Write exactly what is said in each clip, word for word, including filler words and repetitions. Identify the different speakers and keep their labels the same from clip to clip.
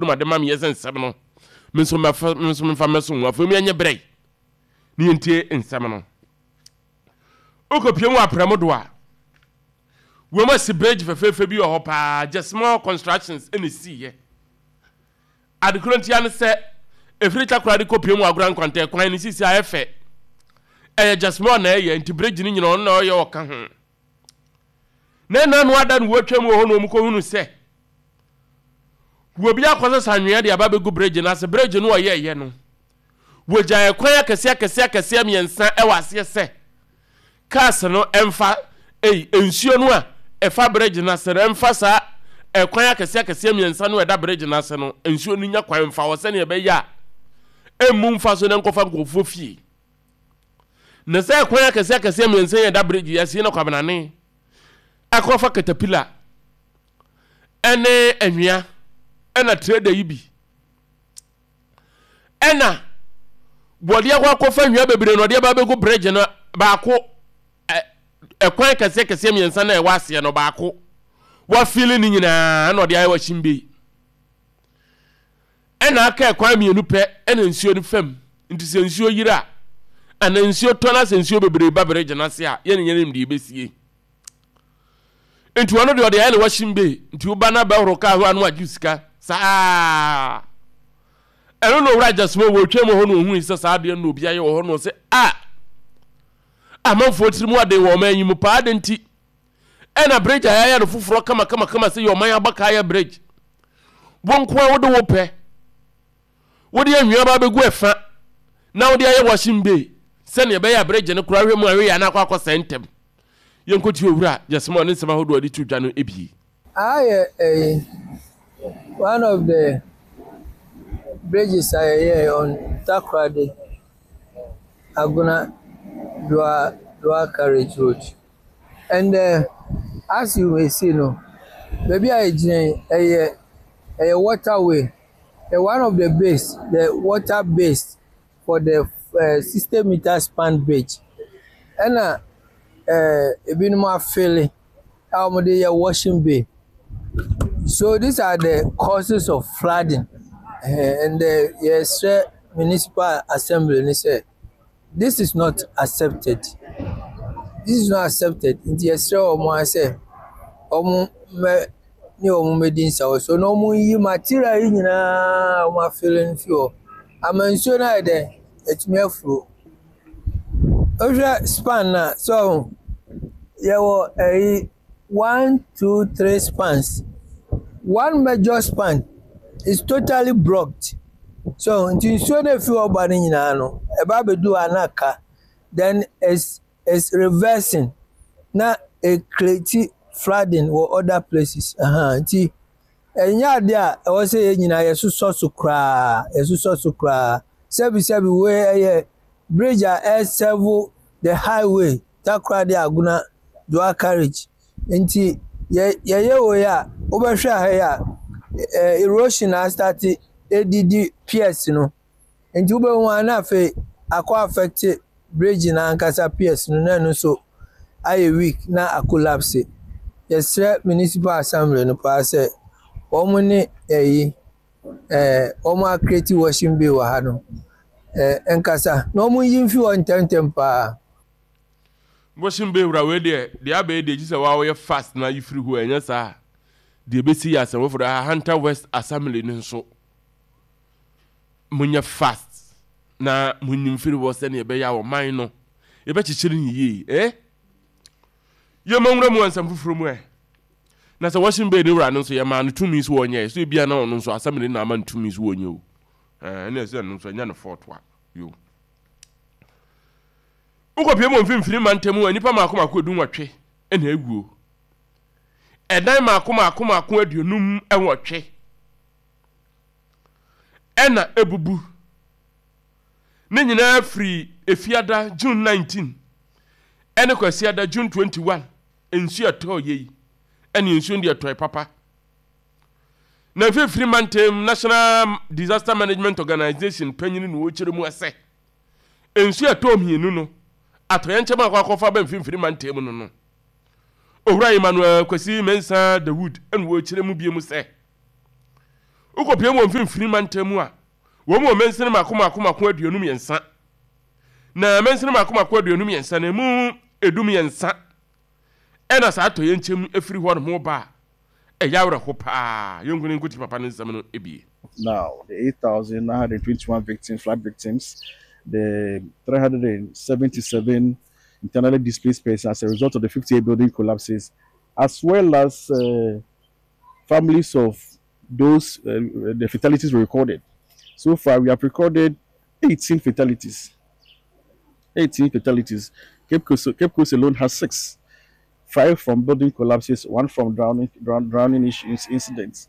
Speaker 1: Ma de ma meyɛ sɛ nsɛm no me nso mɛfa, me nso memfa mɛso ho. Afei mu yɛnyɛ berɛ ne yɛntie nsɛm no. Wokɔpie mu aprɛmo do a, wɔn asi bridge fɛfɛɛfɛ bi wɔ hɔ paa. Just small constructions ɛna esiiɛ. Adekoro ntia ne sɛ efiri Takora de kɔpie mu Agorɔ Nkwantɛ kwan ne sisi ayɛ fɛ. Ɛyɛ just small na ɛyɛ, nti bridge no nyina ɔno na ɔyɛ, ɔka ho. Na ɛna no ada no wɔatwa mu wɔ hɔ na wɔn kɔhunu sɛ wɔbi akɔsesa anwea de aba bɛgu bridge no ase. Bridge no ɔyɛɛyɛ no, wɔgya ɛkwan akɛseɛ akɛseɛ akɛseɛ mmiɛnsa ɛwɔ aseɛ sɛ cars no ɛmfa ɛyi nsuo no a ɛfa bridge no ase no ɛmfa saa ɛkwan akɛseɛ akɛseɛ mmiɛnsa no ɛda bridge no ase no. Nsuo no nya kwan mfa hɔ sɛnea ɛbɛyɛ a ɛmmu mfa so na nkɔfa nkurɔfoɔ fie. Na sɛ ɛkwan akɛseɛ akɛseɛ mmiɛnsa yɛ ɛda bridge yi ase na Kwabenane ɛkɔfa caterpillar ɛne anwea ɛna trader yi bi ɛna wɔde akɔ akɔfa nwea bebree na ɔde aba abɛgu bridge no baako. ɛ ɛkwan kɛseɛ kɛseɛ mmiɛnsa na ɛwɔ aseɛ no baako wafili ne nyinaa ɛna ɔde ayɛ washing bay, ɛna aka ɛkwan mmienu pɛ ɛna nsuo no fam. Nti sɛ nsuo yiri a ana nsuo tɔ na sɛ nsuo bebree ba bridge no ase a, yɛne yɛnim deɛ ɛbɛsie. Nti ɔno deɛ ɔde ayɛ ne washing bay, nti woba na bɛhoro kaa ho ano agye sika saa. Ɛno na Owura Gyasoma wɔ otwa mu hɔ na ohun sɛ saa adeɛ no na obi ayɛ wɔ hɔ na ɔsɛ a amanfoɔ tiri mu aden wɔ ɔman yi mu paa de. Nti ɛna bridge a yɛayɛ no foforɔ kama kama kama sɛ yɛ ɔman abaka ayɛ bridge, wɔn nko a wode wo pɛ wode anwea ba bɛgu ɛfa na wode ayɛ washing bay sɛnea ɛbɛyɛ a bridge no koraa hwɛ mu ahwɛ yɛ anakɔ akɔsɛe ntɛm. Yɛnkɔtie Owura Gyasoma ne nsɛm ahodoɔ a de to dwa no ebie.
Speaker 2: Ayɛ ɛyi one of the bridges a yɛyɛɛ on Takoradi Agona Dual Dual Carriage Road. And uh, as you may see no, baabi a yɛgyina yi ɛyɛ ɛyɛ waterway. Ɛyɛ one of the base, the water base for the uh, sixty meter span bridge. Ɛna uh, ebinom afele a wɔde yɛ washing bay. So these are the causes of flooding. Uh, and uh, yɛsrɛ municipal assembly ni sɛ this is not accepted. This is not accepted. Nti yɛsrɛ wɔn a sɛ wɔn mmɛ ne wɔn mmɛdi nsawo so na wɔn yi material yi nyinaa a wɔn afele no fi hɔ ama nsuo no ayɛ dɛ atumi afuro. Wohwɛ span na so yɛwɔ ɛyi one, two, three spans. One major span is totally blocked. So nti nsuo no efi hɔ ba no nyinaa no ɛba abɛdu hɔ a na aka, then it's it's reversing na ecreate flooding wɔ other places. uh nti ɛnyɛ adeɛ a ɛwɔ sɛ yɛn nyinaa yɛsosɔ so koraa, yɛsosɔ so koraa. Sɛbi sɛbi, wei ɛyɛ bridge a ɛserve the highway Takoradi Agona dual carriage, nti yɛ yɛyɛ wei a wobɛhwɛ ha yi a ɛ erosion astart edidi piers no, nti wobɛhu a na afei akɔ affect bridge no ankasa piers no na ɛno nso ayɛ weak na acollapse. Yɛsrɛ municipal assembly no paa sɛ wɔn ne ɛyi ɛɛ wɔn acreate washing bay wɔ ha no ɛɛ nkasa na wɔn yi mfi hɔ ntɛmntɛm paa.
Speaker 1: Washing bay wura, wei deɛ deɛ abɛyɛ deɛ gye sɛ waa wɔyɛ fast na ayi firi hɔ. Ɛnyɛ saa deɛ ɛbɛsi yɛ asɛm foforɔ. Ahanta West Assembly no nso, monyɛ fast na monyim firi hɔ sɛnea ɛbɛyɛ a ɔman no yɛbɛkyekyere ne yie. Eh, yɛma nwura mu ansɛm foforɔ mu ɛ na sɛ washing bay ne wura no nso yɛmaa no tumi so wɔnyɛ so ebia na ɔno nso assembly na ama no tumi so wɔnyɛ o. Ɛne ɛsɛ ɛno nso ɛnyɛ no fault a yo. Wokɔpie mu mfimfini mantam a, nnipa maako maako edu nwɔtwe ɛna ewuo, ɛdan maako maako maako aduonum nwɔtwe ɛna ebubu. Ne nyinaa firi Efiada June nineteen ɛne Kwasiada June twenty-one nsuo ɛtɔɔ yɛ yi. Ɛne nsuo no deɛ ɛtɔɛ papa na mfimfini mantam National Disaster Management Organization panyin na wɔkyerɛ mu ɛsɛ nsuo ɛtɔɔ mmienu no atɔyɛnkyɛm akɔ akɔfa bɛ mfimfini mantam no no Owura Emmanuel Kwasi Mensa Dawood ɛna wɔkyerɛ mu bie mu sɛ Wokɔpie mu wɔ Mfimfini Mantam mu a, wɔn wɔ mansini mako mako mako aduonu mmiɛnsa. Na mansini mako mako aduonu mmiɛnsa no, emu edu mmiɛnsa ɛna saa atɔyɛnkyɛm efiri hɔ nom ba a ɛyɛ awerɛho paa. Yɛnko ne nkuti papa ne nsɛm no ebie.
Speaker 3: Now, the eight thousand nine hundred twenty-one victims, flood victims, the three hundred seventy-seven internally displaced persons as a result of the fifty-eight building collapses, as well as uh, families of those, uh, the fatalities were recorded. So far, we have recorded eighteen fatalities. eighteen fatalities. Cape Coast, Cape Coast alone has six. Five from building collapses, one from drowning, drown, drowning issues, incidents.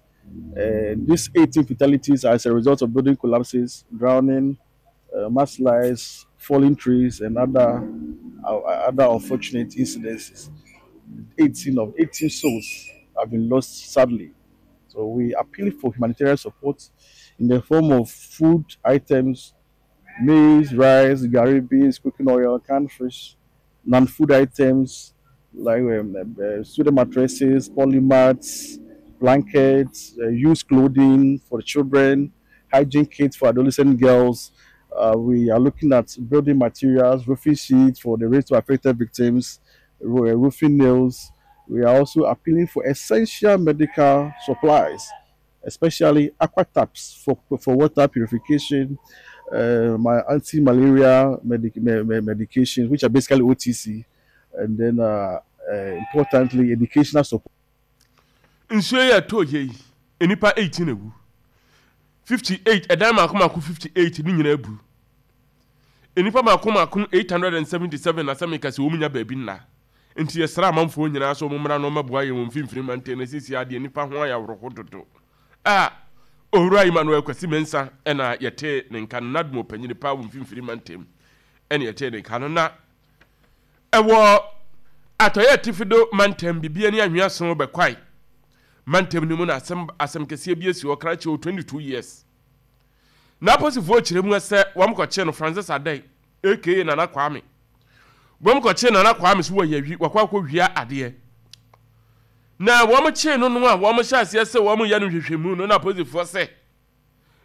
Speaker 3: Uh, these eighteen fatalities are as a result of building collapses, drowning, uh, mudslides, falling trees, and other uh, other unfortunate incidences. eighteen of eighteen souls have been lost, sadly. So we appeal for humanitarian support in the form of food items, maize, rice, gari, beans, cooking oil, canned fish, non-food items like um, uh, student mattresses, polymats, blankets, uh, used clothing for the children, hygiene kits for adolescent girls. Uh, we are looking at building materials, roofing sheets for the rain affected victims, ro- uh, roofing nails. We are also appealing for essential medical supplies, especially aqua taps for, for water purification, uh, my anti-malaria medic- me- me- medications, which are basically O T C, and then uh, uh, importantly, educational support.
Speaker 1: Nsuo yi a ɛtɔ yɛ yi, nnipa eighteen ewu, fifty-eight ɛdan mako mako fifty-eight ne nyinaa bu, nnipa mako mako eight hundred and seventy-seven na sɛ meka sɛ wɔn nya baabi nna. Nti yɛsrɛ amanfoɔ nyinaa sɛ wɔn mmra na wɔmmɛboa yɛn wɔ Mfimfini Mantam na sisi adeɛ nnipa ho ayɛ aworɔho dodo. A Owura Emmanuel Kwasi Mensa ɛna yɛte ne nka no, NADMO panyini paa wɔ Mfimfini Mantam ɛna yɛte ne nka no. Na ɛwɔ Atɔyɛ Atifido Mantam, bibia ne anwea so bɛkwae mantam no mu na asɛm asɛm kɛseɛ bi asi hɔ. Krakye wɔ twenty-two years na aposifoɔ kyerɛ mu sɛ wɔn kɔkye no, Francis Adai A K A Nana Kwame. Wɔn kɔkye Nana Kwame so wɔ yɛwi wakɔ akɔ wia adeɛ na wɔn kyee no no a wɔn hyɛ aseɛ sɛ wɔn yɛ no nhwehwɛmu no, na aposifoɔ sɛ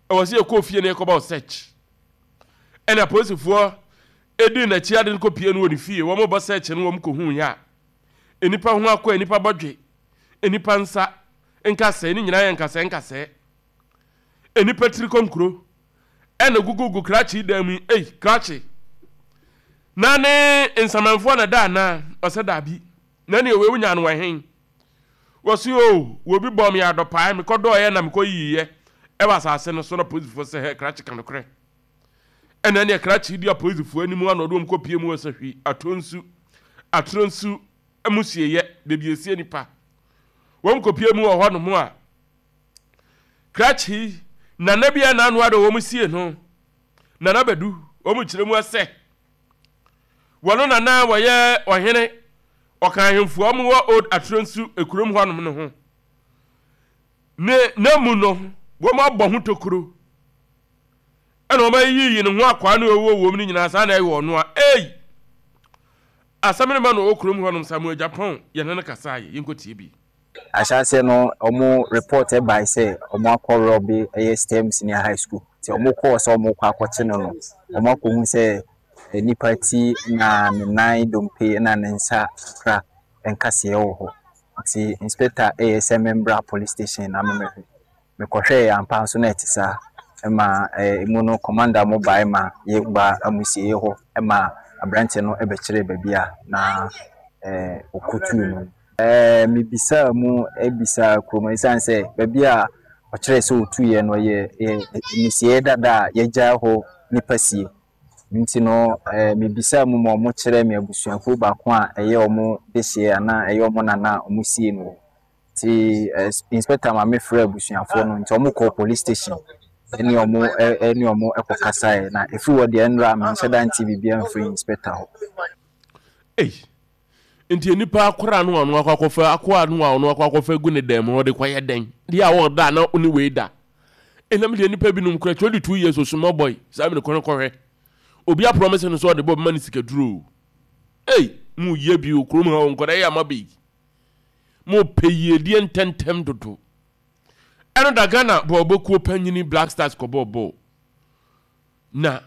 Speaker 1: ɛwɔ sɛ yɛkɔ fie na yɛkɔba search. Ɛna aposifoɔ edi n'akyi ade no kɔpie no wɔ ne fie. Wɔn bɔ search no, wɔn kɔhu yɛ a nipa ho akɔ, nipa bɔdwe, nipa nsa nkasɛɛ ne nyinaa yɛ nkasɛɛ nkasɛɛ, nipa tiri kɔnkuro ɛna gugugu krakye dan mu yi. Ei, krakye na ne nsamanfoɔ na da anaa? Ɔsɛ daabi. Na ne ewe wonya no wɔ hen? Wɔsi o, wobi bɔ mi adɔpaa, mekɔ dɔɔyɛ na mekɔ yiyɛ ɛwɔ asase no so. Na polisifoɔ sɛ hɛ, krakye, ka nokorɛ. Ɛna ne krakye di apolisifoɔ anim ana ɔde wɔn kɔ pie mu wɔ Sahwi Atonsu, Atoro Nsu mu sieyɛ beebi esie nipa. Wɔn kɔ pie mu wɔ hɔnom a krakye nana bi a n'ano ade wɔn sie no, Nana Bɛdu, wɔn kyerɛ mu ɛsɛ wɔn nana wɔyɛ ɔhene, ɔka ahemfo a wɔwɔ Old Atoro Nsu ekurom hɔnom no ho. Ne na mu no wɔn abɔ ho tokuro ɛna wɔn ayiyi ne ho akwaa no ɛwɔ wɔm no nyinaa saa na ɛyɛ ɔno a. Ei, asɛm no ma no ɔwɔ kurom hɔnom. Samuel Japan yɛne no kasa yɛ, yɛnkɔ tie bi.
Speaker 4: Ahyɛaseɛ no, ɔmo report ɛbae sɛ ɔmo akɔ rob ɛyɛ STEM Senior High School, nti ɔmo kɔɔ sɛ ɔmo kɔ akɔkye no no ɔmo akɔhu sɛ nipa ti na ne nan dompe na ne nsa kakra nkaseɛ wɔ hɔ. Nti inspector ɛyɛ sɛ membra police station na memmɛhwɛ. Mekɔhwɛɛ, ampa nso na ɛte saa. Ɛma ɛɛ emu no commander mo bae ma yɛba amusieɛ hɔ, ɛma aberanteɛ no ɛbɛkyerɛ baabi a na ɛɛ ɔkɔtuu no. ɛɛ mebisaa mu, ebisa kurom, esiane sɛ baabi a ɔkyerɛ sɛ ɔtuiɛ no yɛ yɛ amusieɛ dada a yɛgyae hɔ nipa sie. Nti no ɛɛ mebisaa mu ma ɔmo kyerɛ me abusuakuo baako a ɛyɛ ɔmo dehyeɛ anaa ɛyɛ ɔmo nana a ɔmo sie no hɔ. Nti ɛɛ inspector ma mefrɛ abusuafoɔ no, nti ɔmo kɔɔ police station ɛne ɔmo ɛne ɔmo ɛkɔ kasaeɛ. Na efiri hɔ deɛ, nnora menhyɛ da nte biribiara mfiri inspector hɔ.
Speaker 1: Ei, nti nipa akora no a ɔno akɔ akɔfa akoa no a ɔno akɔ akɔfa gu ne dan mu, ɔde kɔyɛ dɛn deɛ a ɔda na ɔne wei da? Ɛnam deɛ nipa binom kora twenty two years osumɔ boy saa mi ne kɔn kɔhwɛ obi apromise no sɛ ɔde bɔ bɛma ne sika duro. Ei, mu yɛ bi o kurom ha o, nkɔda yɛ ama bi mo pɛ yiedie ntɛntɛm dodo. Ɛno da Ghana bɔɔlbɔkuo panyini Black Stars kɔbɔɔ bɔɔl na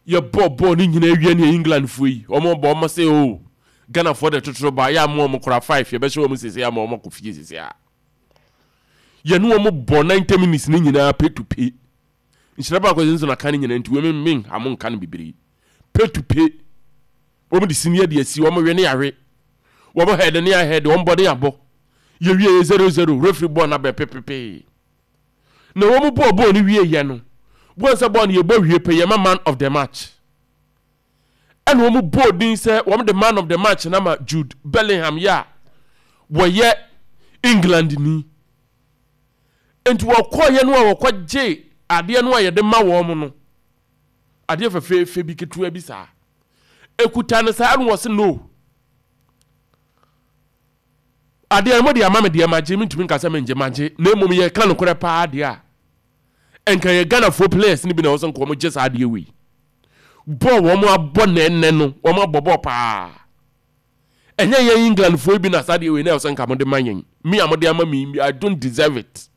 Speaker 1: yɛbɔɔ bɔɔl no nyinaa wie ne Englandfoɔ yi wɔn bɔ wɔn sɛ o Ghanafoɔ de totoro ba yɛ ama wɔn kora five yɛbɛhyɛ wɔn sese ama wɔn akɔ fie sese a yɛne wɔn bɔ ninety minutes ne nyinaa pe to pe nhyira baako nso na ka ne nyinaa nti wɔn men ha mo nka no bebree pe to pe wɔn de sini de asi wɔn we ne yare wɔn head ne ahɛd wɔn bɔ ne abɔ yɛwie yɛ zero zero referee bɔɔl na bɛ pepepee na wɔn bɔɔ bɔɔl no wie yɛ no wɔn sɛ bɔɔl no yɛbɔ wie pɛ yɛma man of the match ɛna wɔn bɔɔ din sɛ wɔn de man of the match na ma Jude Bellingham yɛ a wɔyɛ England ni nti wɔkɔɔyɛ no a wɔkɔgye adeɛ no a yɛde ma wɔn no adeɛ fɛfɛɛfɛ bi ketewa bi saa ekuta no saa no wɔ se no adeɛ no mo de ama me deɛ magye mentumi nka sɛ mengye magye na mmom yɛka nokorɛ paa deɛ a nka yɛ Ghanafoɔ players no bi na ɛwɔ sɛ nka wɔn gye saa adeɛ wei bɔɔl wɔn abɔ nɛɛnɛ no wɔn abɔ bɔɔl paa ɛnyɛ yɛn Englandfoɔ bi na saa adeɛ wei na ɛwɔ sɛ nka mo de ma yɛn me a mo de ama me I don't deserve it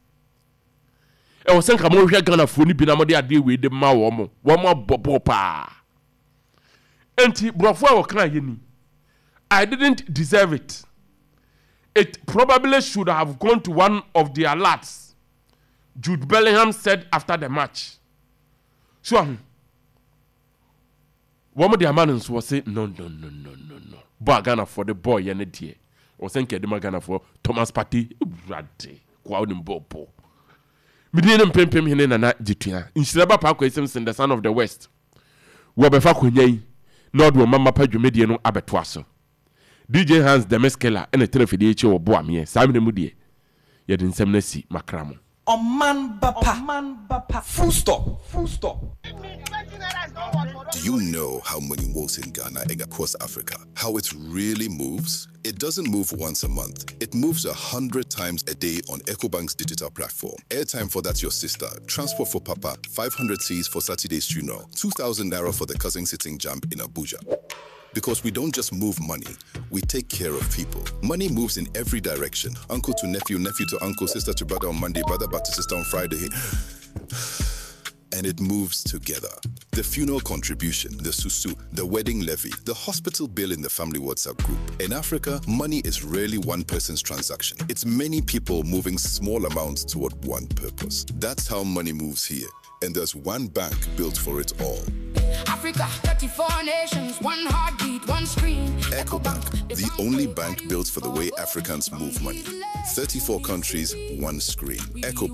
Speaker 1: ɛwɔ sɛ nka mo hwɛ Ghanafoɔ no bi na mo de adeɛ wei de ma wɔn wɔn abɔ bɔɔl paa nti borɔfo a wɔka yɛ ni I didn't deserve it it probably should have gone to one of their lads Jude Bellingham said after the match so ahu wɔn de ama no nso wɔse no no no no no no bɔ a Ghanafoɔ de bɔɔl yɛ ne deɛ wɔsɛ nka ɛde ma Ghanafoɔ Thomas Partey ewurade koa onim bɔɔl bɔ medin ne mpempem hene Nana Gyetua nhyira ba Paakwa Simpson the son of the west wɔbɛfa akonnwa yi na ɔde ɔma mapa dwumadie no abɛtoa so DJ Hans the Miskela ɛna tena fidie akyi wɔ boameɛ saa mmerɛ mu deɛ yɛde nsɛm no asi makra mo
Speaker 5: Ɔman ba pa. Ɔman ba pa. Full stop. Full stop.
Speaker 6: Do you know how money works in Ghana and across Africa? How it really moves? It doesn't move once a month. It moves a hundred times a day on EcoBank's digital platform. Airtime for that's your sister, transport for papa, five hundred cedis for Saturday's funeral, two thousand naira for the cousin sitting JAMB in Abuja. Because we don't just move money, we take care of people. Money moves in every direction. Uncle to nephew, nephew to uncle, sister to brother on Monday, brother back to sister on Friday. And it moves together. The funeral contribution, the susu, the wedding levy, the hospital bill in the family WhatsApp group. In Africa, money is rarely one person's transaction. It's many people moving small amounts toward one purpose. That's how money moves here. And there's one bank built for it all.
Speaker 7: Africa, thirty-four nations, one heartbeat, one screen.
Speaker 6: EcoBank, the only bank built for the way Africans move money. thirty-four countries, one screen. EcoBank.